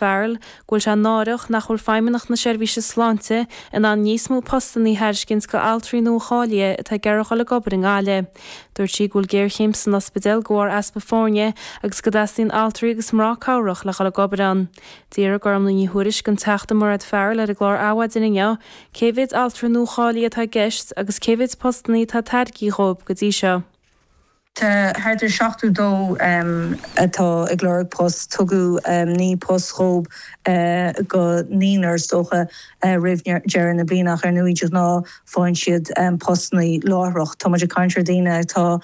Farrell go bhfuil sé náireach nach bhfuil Feidhmeannacht na Seirbhíse Sláinte in ann níos mó postanna a thairiscint go altraí nua-cháilithe atá ag iarraidh dhul ag obair i nGaillimh. Dúirt sí go bhfuil géarchéim san ospidéal de bharr easpa foirne agus go dteastaíonn altraí agus mná cabhrach le dhul ag obair ann. D'fhiafraigh Gormlaith Ní Thuairisg den Teachta Mairéad Farrell ar an gclár Adhmhaidin inniu cé mhéid altra nua-cháilithe atá i gceist agus cé mhéid postanna atá tairgthe dhóibh go dtí seo. Tá thart ar 72 atá ag lorg post. Tugadh 9 post dhóibh go naonúr is dócha roimh deireadh na bliana ach ar ndóigh de ghnáth faigheann siad postanna láithreach. Tá muid ag caint ar daoine atá,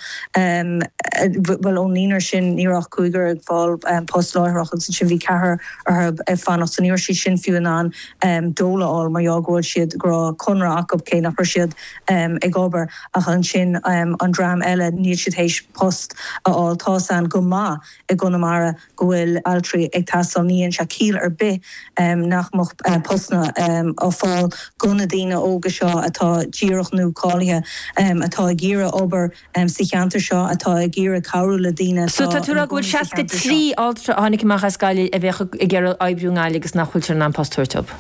bhuel ón naonúr sin ní raibh ach cúigear ag fáil post láithreach agus ansin bhí ceathrar orthu ag fanacht so ní raibh siad sin fiú in ann dole a fháil mar gheall go bhfuil siad, go raibh conradh acu cé nach raibh siad ag obair. Ach ansin an dream eile, níl siad théis post a fháil. Tá's a'inn go maith i gConamara go bhfuil altraí ag teastáil. Ní dhéanann sé ciall ar bith nach mbeadh postanna á fáil go na daoine óga seo atá díreach nua-cáilithe, atá ag iarraidh obair sa cheantar seo, atá ag iarraidh cabhrú le daoine So atá tá tú ag ina rá go bhfuil gcónaí sa cheantar seo. 63 altra a tháinig amach as Gaillimh a bheadh ag iarraidh oibriú i nGaillimh agus nach bhfuiltear in ann post a thabhairt dóibh?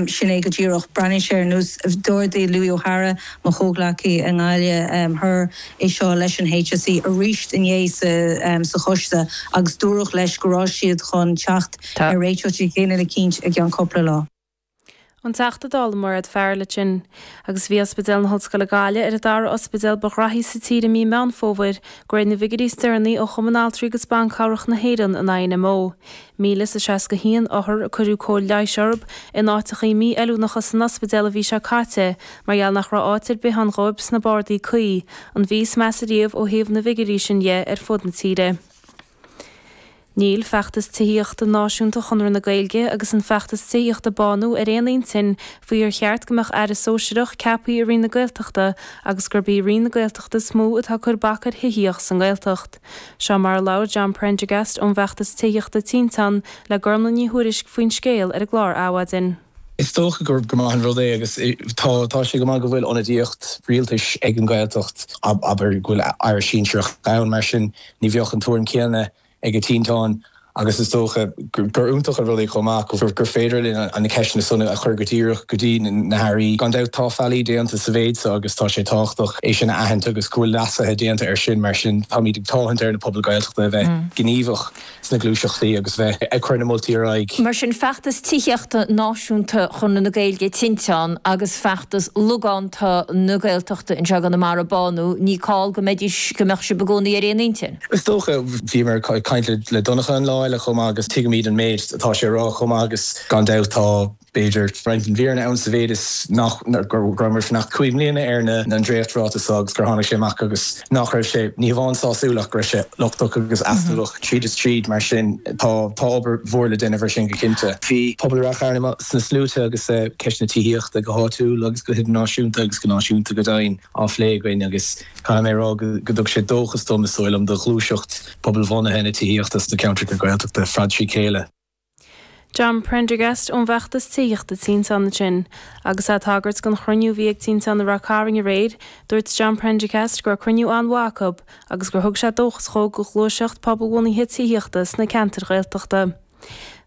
Sin é go díreach. Breathnaíonn sé ar nós, d'ardaigh Louis O'Hara, mo chomhghleacaí i nGaillimh Thoir, é seo leis an HSE arís inné sa choiste agus dúradh leis go raibh siad chun teacht ar réiteach éigin eicínt i gceann cúpla lá. An Teachta Dála Mairéad Farrell ansin. Agus bhí Ospidéal na hOllscoile Gaillimh ar an dara ospidéal ba ghraithí sa tír i mí Meán Fómhair, de réir na bhfigiúirí is deireanaí ó Chumann Altraí agus Ban Cabhrach na hÉireann, an INMO. 1,061 othar a cuireadh cóir leighis orthu in áiteachaí mí-fheiliúnacha san ospidéal an mhí seo caite mar gheall nach raibh áit ar bith ann dhóibh sna bardaí cuí, an mhí is measa riamh ó thaobh na bhfigiúirí sin dhe ar fud na tíre. Níl feachtas tithíochta náisiúnta Chonradh na Gaeilge agus an feachtas tithíochta Bánú ar aon intinn faoi ar cheart go mbeadh aire sóisearach ceaptha i Roinn na Gaeltachta agus gurb í Roinn na Gaeltachta is mó atá ag cur bac ar thithíocht sa nGaeltacht. Seo mar a labhair John Prendergast ón bhfeachtas tithíochta Tinteán le Gormlaith Ní Thuairisg faoin scéal ar an gclár Adhmhaidin. Is dócha gur maith an rud é agus tá tá sé go maith go bhfuil ionadaíocht rialtais ag an Ghaeltacht, abair go bhfuil aire sinsearach ann, mar sin ní bheadh an tuairim chéanna ag Tinteán agus is dócha gur iontach an rud é chomh maith gur féidir linn na ceisteanna san a chur go díreach go dtí na hairí. Gan dabht tá faillí déanta sa mhéid seo agus tá sé tábhachtach é sin a aithint agus go bhfuil leasuithe déanta air sin mar sin táimid ag tathant ar na pobail Ghaeltachta a bheith gníomhach sna gluaiseachtaí agus bheith ag cur na moltaí ar aghaidh. Mar sin feachtas tithíochta náisiúnta Chonradh na Gaeilge Tinteán agus feachtas logánta na Gaeltachta anseo i gConamara Bánú, ní call go mbeidís, go mbeadh sibh i gcónaí ar aon intinn. Is dócha, bhíomar ag caint le Donncha an lá eile chomh maith agus tuigimid an méid atá sé a rá chomh maith agus gan dabht tá, b'fhéidir, roinnt den bhfírinne ann sa mhéid is nach, go rabhamar ag fanacht 5 mbliana ar na, an dréachtráiteas seo agus gur tháinig sé amach agus nach raibh sé, ní hamháin sásúil ach go raibh sé lochtach agus easnamhach tríd is tríd mar sin tá, tá obair mhór le déanamh ar sin go cinnte. Bhí pobal Ráth Chairn amuigh sna sluaite agus ceist na tithíochta go háitiúil agus go hidirnáisiúnta agus go náisiúnta go deimhin á phlé againn agus Caithfidh mé a rá go dtug sé dóchas dom, is dóigh liom, do ghluaiseacht pobalbhunaithe na tithíochta sna ceantracha Gaeltachta fad trí chéile. John Prendergast ón bhfeachtas tithíochta Tinteán ansin. Agus é ag tagairt don chruinniú a bhí ag Tinteán i Ráth Cairn aréir, dúirt John Prendergast go raibh cruinniú an-mhaith acu agus gur thug sé dóchas dhó do ghluaiseacht pobalbhunaithe tithíochta sna ceantair Ghaeltachta.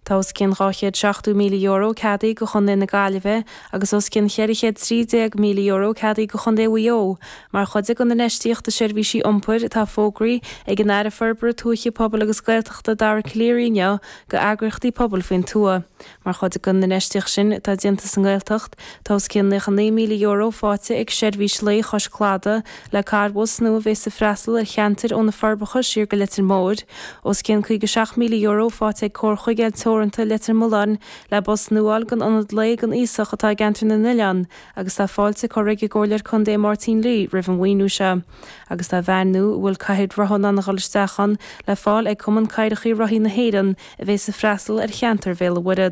Tá os cionn €270,000 ceadaithe do Chontae na Gaillimhe agus os cionn €413,000 ceadaithe do Chontae Mhaigh Eo mar chuid den infheistíocht i seirbhísí iompair atá fógraithe ag an Aire Forbartha Tuaithe, Pobail agus Gaeltachta Dara Calleary inniu do eagraíochtaí pobail faoin tuath. Mar chuid den infheistíocht sin atá déanta sa nGaeltacht, tá os cionn €99,000 faighte ag Seirbhís Lae Chois Cladaigh le carrbhus nua a bhéas ag freastal ar cheantair ó na Forbacha siar go Leitir Móir. Os cionn €57,000 faighte ag Comhar Chuigéil Teoranta Leitir Mealláin le bus nua a fháil don ionad lae don aosach atá i gCeantar na nOileán agus tá fáilte curtha ag an gComhairleoir Contae Máirtín Lee roimh an mhaoiniú seo. Agus tá veain nua a bhfuil cathaoir rotha in ann a dhul isteach ann le fáil ag Cumann Cathaoireacha Rothaí na hÉireann a bhéas ag freastal ar cheantar Bhéal an Mhuirthead.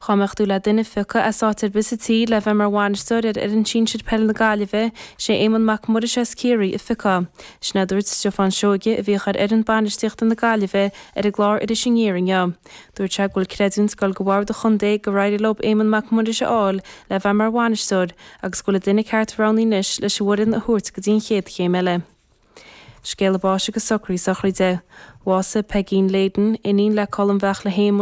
Dhá mbeadh tú le duine a phiocadh as áit ar bith sa tír le bheith mar bhainisteoir ar fhoireann sinsir peile na Gaillimhe, sé Éamonn Mac Muiris as Ciarraí a phiocfá. Sin a dúirt Stiofán Seoige, a bhíodh ar fhoireann bainistíochta na Gaillimhe, ar an gclár Iris Aniar inniu. Dúirt sé go bhfuil creidiúint ag dul go bhord an chontae gur éirigh leo Éamonn Mac Muiris a fháil le bheith mar bhainisteoir agus go bhfuil an duine ceart roghnaithe anois leis an bhfoireann a thabhairt go dtí an chéad chéim eile. Scéala báis agus socruithe sochraide. Bhásaigh Peigín Leyden, iníon le Colm Bheartla Shéamuis.